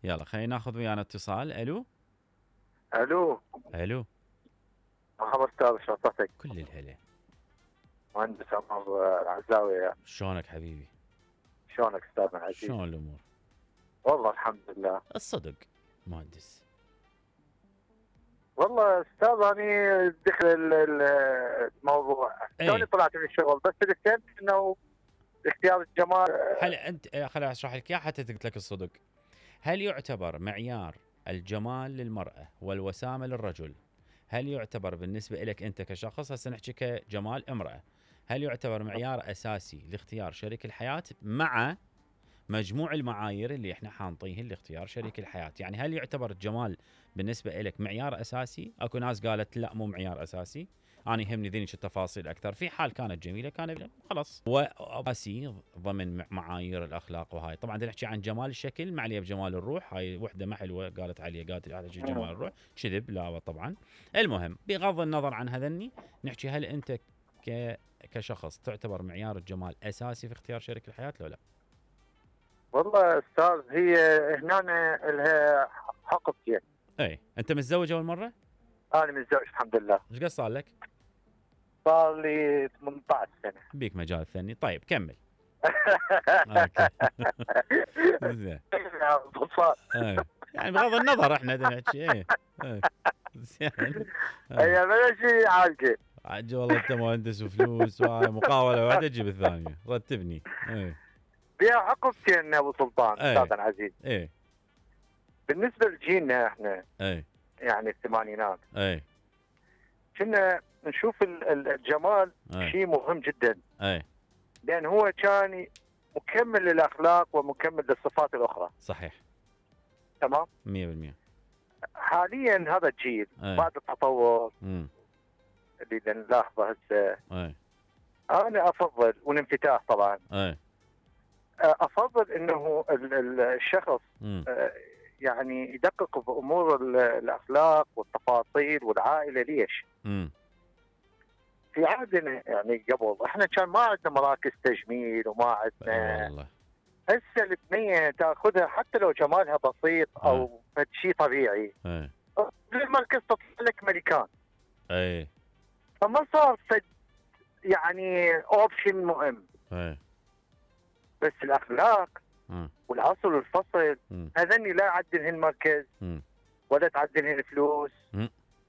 يلا خلينا ناخذ ويانا اتصال. الو الو، الو، مرحبا استاذ، شلونك؟ كل الهلا. مهندس عمر العزاوي. شلونك حبيبي؟ شلونك استاذنا العزيز؟ شلون الامور؟ والله الحمد لله. الصدق مهندس. والله استاذ اني دخل الموضوع توني طلعت من الشغل، بس اللي فهمت انه اختيار الجمال. هل انت خليني اشرح لك اياه حتى قلت لك الصدق. هل يعتبر معيار الجمال للمرأة والوسامة للرجل، هل يعتبر بالنسبة لك انت كشخص، هسه نحكي كجمال امرأة، هل يعتبر معيار اساسي لاختيار شريك الحياة مع مجموع المعايير اللي احنا حانطيهن لاختيار شريك الحياة؟ يعني هل يعتبر الجمال بالنسبة لك معيار اساسي؟ اكو ناس قالت لا مو معيار اساسي، انا يهمني ذنك التفاصيل اكثر. في حال كانت جميله كان خلاص واساسي ضمن معايير الاخلاق. وهاي طبعا نحكي عن جمال الشكل ما عليه بجمال الروح. هاي وحده ما حلوه قالت عليه، قالت على جمال الروح كذب، لا طبعا. المهم بغض النظر عن هذني نحكي، هل انت كشخص تعتبر معيار الجمال اساسي في اختيار شريك الحياه لو لا؟ والله استاذ هي هنا لها حقبتين. اي انت متزوج اول مره؟ انا متزوج الحمد لله. ايش قد صار لك؟ صار لي 18 سنه. بيك مجال ثاني. طيب كمل. زين. يعني بغض النظر احنا نحكي ايه زين. هي بلا شيء عالجه. عالجه والله، انت مهندس وفلوس وهاي مقاوله واحده تجيب الثانيه، رتبني. ايه فيها حقبتين ابو سلطان استاذ العزيز. ايه بالنسبه لجيلنا احنا ايه يعني الثمانينات ايه كنا نشوف الجمال شيء مهم جدا. ايه لان هو كان مكمل للاخلاق ومكمل للصفات الاخرى. صحيح. تمام 100%. حاليا هذا الجيل بعد التطور اللي نلاحظه هسه، انا افضل والانفتاح طبعا، افضل انه الشخص يعني يدقق بامور الاخلاق والتفاصيل والعائله. ليش؟ في عهدنا يعني قبل احنا كان ما عندنا مراكز تجميل وما عندنا. هسه البنيه تاخذها حتى لو جمالها بسيط او شيء طبيعي، المركز تطلع لك ملكان. فما صار يعني اوبشن مهم. بس الاخلاق والعصر والفصل هذني لا عدلهن مركز ولا تعدلهن فلوس